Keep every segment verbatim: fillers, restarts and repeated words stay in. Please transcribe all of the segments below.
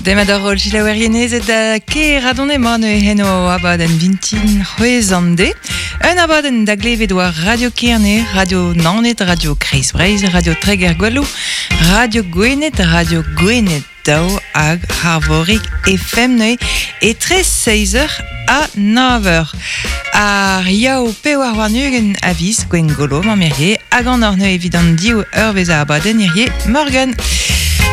Demat ar rol jilaouerienezet da ker adon emañ heno abadenn vintin c'hwez an de. Un abadenn da glevet war Radio Kerne, Radio Naoned, Radio Kreiz Breizh, Radio Treger Gwelou, Radio Gwened, Radio Gwened daou hag Harvorig F M neuze etre seiz eur ha nav eur. Ar yaou pewar warn-ugent a viz Gwengolo mamm-Irye hag an ur neuze evit an div eur vez a abadenn Irye Morgan.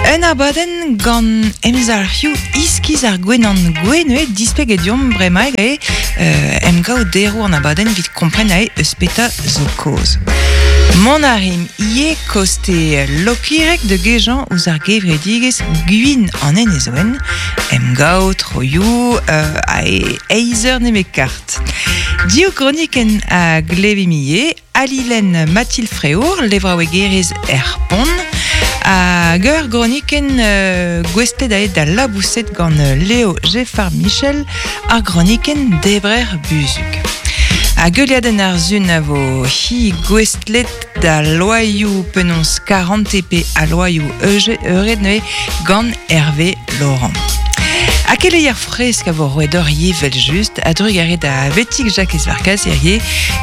Un abadenn gant emzalc'hioù iskiz ar gwenan gwenue displeget diomp bremaik eo euh, emgav deroù an abadenn evit kompren ae eus peta zo kaoz. Mont a rim ie koste lokirek de gejan ouzh ar gevredigezh gwin an enezoen, emgav troioù euh, ae eizh eur nemet kart. Div kronikenn a glevimie, Alilen Mathilde Fréour, levraouegerez er pont, hag ur gronikenn euh, gouestlet aet da labouset gant Léo Geffard Michel, ar gronikenn debrer buzug. Hag geuliadenn ar zun a vo hi gouestlet da loaioù penaos quarante pe a loaioù euge euret neuze gant Hervé Laurent. A keleier fresk a vo roet ur vel just a drugarez da vetik Jacques Varkas hirie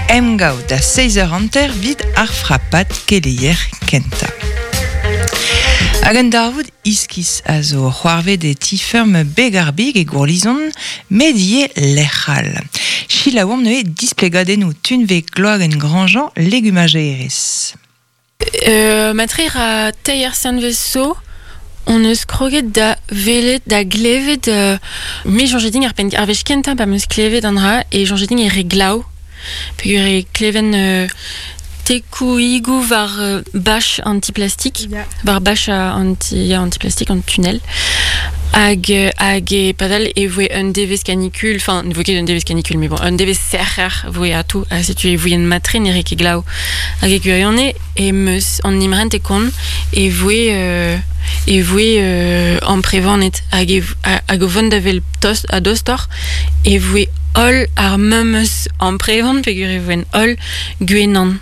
emgav da seiz eur hanter vid ar frapat keleier kenta. Hag an darvoud iskis a zo c'hoarvet e ti-ferm Begarbig e Gourlizon, medie lec'hal. Chilaouomp neuze displegadennoù tunve gloagen Grandjean legumagerez. Euh, matrer a teir sanvez so, on eus kroget da velet, da glevet, euh, me jonjeding ar pen, ar vech kentañ pa meus klevet an dra, e jonjeding e re glav. Peogwir e kleven euh, tekou igou war euh, bâche antiplastique, yeah. War bâche anti, ya, antiplastique an tunnel. Hag, hag e padal e voe un devez canicule, enfin, ne voe ket un devez canicule, mais bon, un devez serrer voe atou, ha setu e voe en matre ne re ket glav. Hag e gwirione e meus an imrent e kont e voe, euh, e voe euh, amprevanet hag e, hag o vont da vel tost a dostor e voe holl ar memeus amprevan peogwir e voen holl gwenan.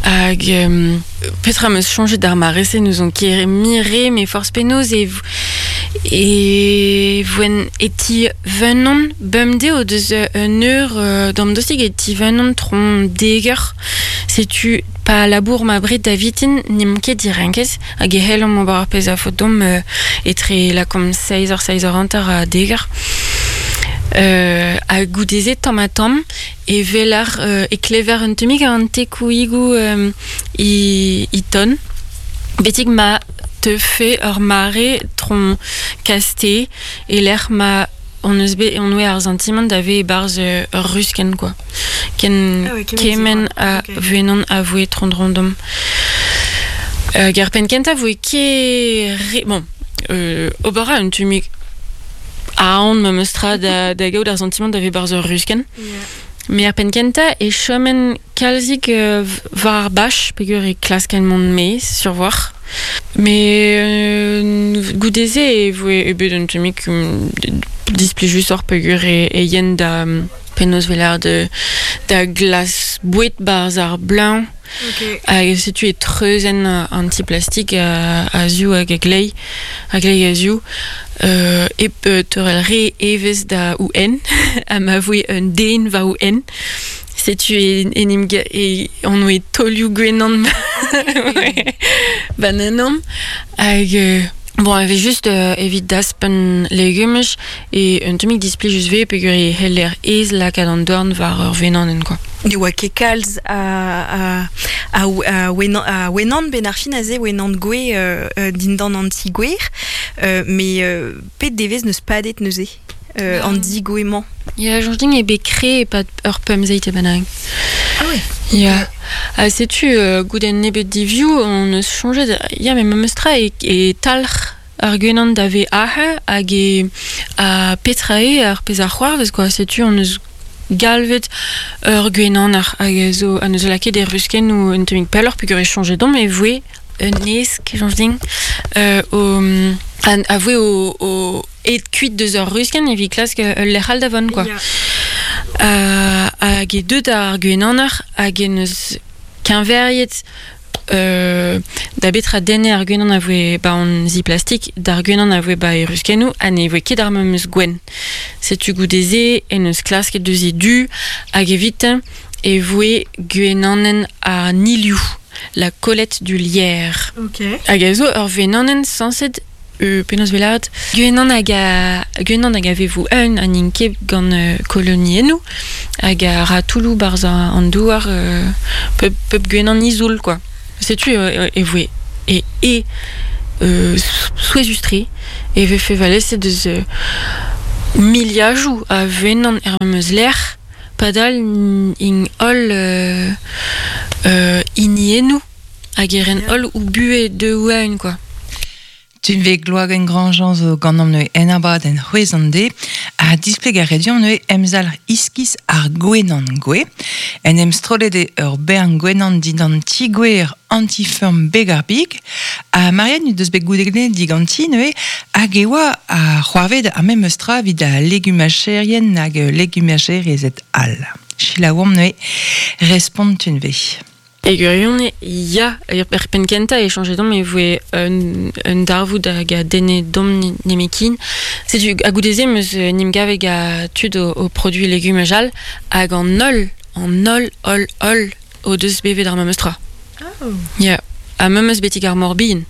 Hag euh, petra meus chañjet d'ar mare-se nous on ket mire me forzh penaos e e voen e ti venon bemdez o deus un eur euh, d'am dostig e ti venon tron deger. Setu pa labour ma bred da vitin n'em ket direnkez hag e hellomp ober ar pezh a faot domp euh, etre la kom seiz eur, seiz eur hanter a deger. Euh, a goudeze tamm ha tamm e velar euh, e klever un temig an tekouigoù euh, i, i ton. Betik ma te fe ur mare tron kaste e lec'h ma on eus bet on oe ar sentiment da ve e-barzh ur ruskenn quoi. Ken ah ouais, kemen a okay. venon a voe tron rondom. Euh, gar pen kenta voe ke re, bon euh, ober a un tumig a on ma meustra da, da gaout ar sentiment da ve barzh ur ruskenn. Yeah. Me ar pen kenta e chomen kalzik euh, war ar bach, peogwir e klasken mont maez sur war. Mais euh, goudeze e voe e bet un tumig um, displijus ur peogwir e, e yen da penaos velar de, da glas bouet barzh ar bleuñv. Okay. Hag setu e treuzenn antiplastik a, a ziv hag a glei, a glei a ziv. Euh, ep euh, teurel re evezh da ou en, ha ma voe un den war ou en. Setu e, enim e on oe taolioù gwenan bananom. Hag euh, bon, e vez just euh, evit daspen legumaj e un temig displijus ve peogwir e heller ez lakaat an dorn war ur venanenn quoi. Ne oa ket kalz a, a, a, a, wenan, a wenan ben ar fin aze wenan gwe euh, dindan an ti gwer, euh, mais euh, pet devez neus padet neuze euh, an digouemañ. Ya, jonjeding e bet kre e pad ur pemzeit e bennak. Ah ouais. Ya. Ha setu euh, goudenn nebet divioù on eus chañjet, ya me meustra e, e talc'h ar gwenan da ve ahe hag e a petra eo ar pezh ar c'hoarvez quoi. Setu on eus galvet ur gwenan ar hag a zo an eus lakaet e ruskenn ou un temig pelloc'h peogwir e chañjet domp e voe un esk jonjeding euh, o an, a voe o, o et kuit deus ur ruskenn evit klask ul lec'h all da vont quoi. Yeah. Euh, hag e deut ar gwenaner hag en eus keñveriet euh, da betra denne ar gwenan a voe ba an zi plastik, d'ar gwenan a voe ba e ruskennou, ha ne voe ket ar memeus gwen. Setu goudeze en eus klasket deus e du, hag evit e voe gwenanen a niliou, la collette du lierre. Ok. Hag a zo ur venanen sañset euh, penaos velat gwenan hag a gwenan hag a vevo un an int ket gant euh, koloniennoù hag a ra toulou barz an douar euh, pep, pep gwenan izoul quoi. Setu euh, e voe e e euh, souezustre e vefe valese deus euh, miliajoù a venan er meus lec'h padal ing holl euh, euh, iniennoù hag eren holl ou bue de ouen quoi. Tun ve gloagen grandjean zo gant am neue en abad en c'hwez an de, a displeg ar redion neue emzal iskis ar gwenan gwe, en em strollet e ur bern gwenan didan tigwer antifurm beg ar big, a Marianne deus bet goudegne diganti neue, hag e oa a c'hoarved ar mem eustra vid a legumacherien hag legumacherezet al. Chilaouam neue respont tun ve. E gwirion, ya, er penn kentañ e chañjet dom e voe un, un darvoud hag a denne dom nemekin. Setu a goudeze meus nim gaveg a tud o, o produit legumaj all hag an holl, an holl, holl, holl o deus bevet ar memes tra. Oh. Ya, ha memes betik ar morbin.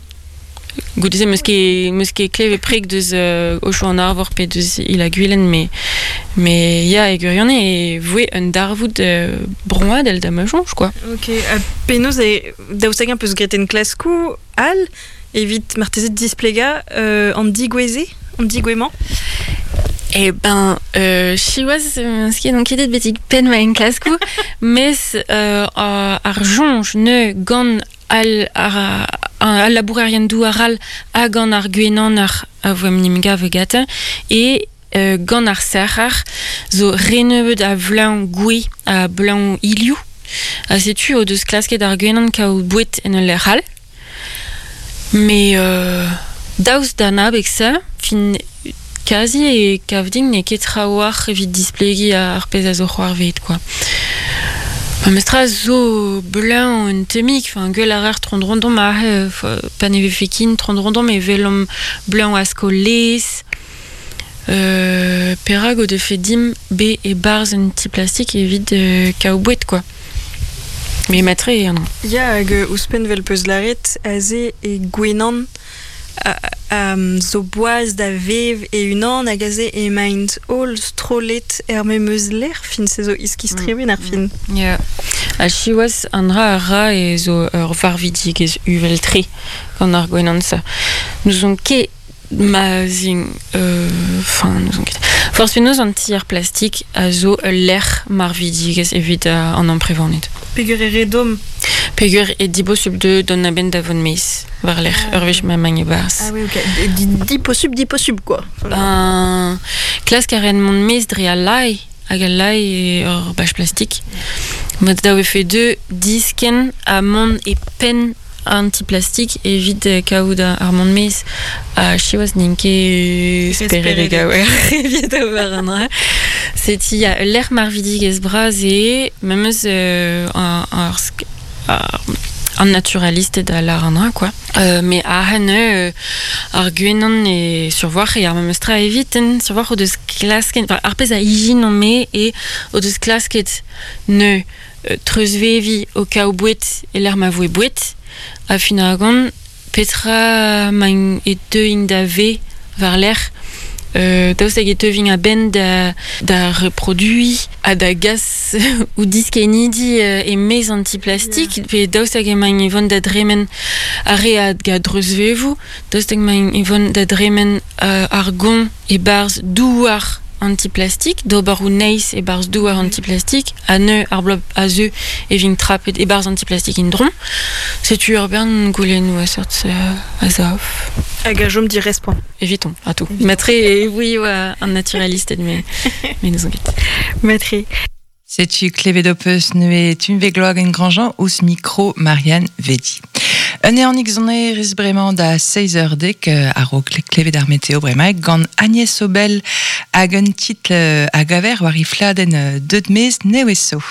Goudeze meus ket meus ket klevet preg deus euh, ocho an arvor pe deus il a gwilen, me me ya e gwirion e voe un darvoud euh, broadel da ma soñj quoi. Ok, ha penaos e daoust hag-eñ peus graet en klaskou all evit marteze displega euh, an digoueze, an digouemañ? Eh ben, euh, siwazh, euh, ket on ket betik penn ma en klaskou, mes euh, ar soñj ne gant al ar al labourerien douar all hag an ar gwenan ar a voem nim gav gata e euh, gant ar serc'har zo renebeut a vleun gwe a bleun iliou a setu o deus klasket ar gwenan kaout bouet en ul lec'h all mais euh, daoust d'an abeg se fin kazi e kavdin n'eo ket trawalc'h evit displegiñ ar pezh a zo c'hoarvezet quoi. Mestra zo bleun un temik, enfin gwell ar ar trondrondom a pa ne vefe kin trondrondom e velom bleun a sko lez euh, perag o defe dim be e barz un ti plastik evit euh, kaout bouet quoi. Mais matre non. Ya hag ouzhpenn vel peus laret aze e gwenan a, a, zo boaz da vev e unan hag aze emaint holl strollet er memeus lec'h fin se zo iskis tremen ar fin. Ya. A siwazh an dra a ra e zo ur varvidigezh uvel tre gant ar gwenan sa. Nous on ket ma zin enfin euh, nous on ket. Forzh penaos an tier plastik a zo ul lec'h marvidigezh evit uh, an amprevaned. Peger e redom. Peger e dibosubl de don a-benn da vont meiz war lec'h ah, ur wech ma magn e barz. Ah oui, ok. Diposubl, diposubl, quoi. Ben, klask a ren mont meiz dre al lae, hag al lae e ur bach plastik. Mat da vefe deux disken a mont e penn antiplastik evit kaout ar mont meiz a siwazh n'int ket speredek a oer evit ober an dra. Seti a lec'h marvidigezh bras e memes euh, ar, ar, ar, an naturaliste da lar an dra quoi. Euh, mais a hen euh, ar gwenan e survoar e ar memes tra evit en survoar o deus klasket enfin, ar pezh a ijin an me e o deus klasket ne euh, treuzvevi o kaout bouet e l'er ma voe bouet a fin ar gant petra main e teuing da ve war lec'h euh, daoust hag e teuving a-benn da, da reprodui ha da gas ou diskenidi euh, e mez antiplastik yeah. Pe daoust hag emaint e vont da dremen ar re a ga dreuzvevoù daoust hag emaint e vont da dremen euh, ar gont e barz douar antiplastik d'ober ou neiz e barz douar antiplastik ha neu ar blob a zeu e vin trapet e barz antiplastik in dron setu ur bern goulennoù a seurt euh, a zav. Hag a jom di respont. Eviton, a tout. Matre e oui oa un naturaliste mais mais nous enquête. Matre. Setu klevet neue tunve gloag en grandjean ouz micro Marianne Vedi. Un eanik zone rez bremañ da seiz eur dek a-raok klevet ar meteo bremañ gant Agnès Obel hag un titl hag aver war i fladenn deud mez neweso.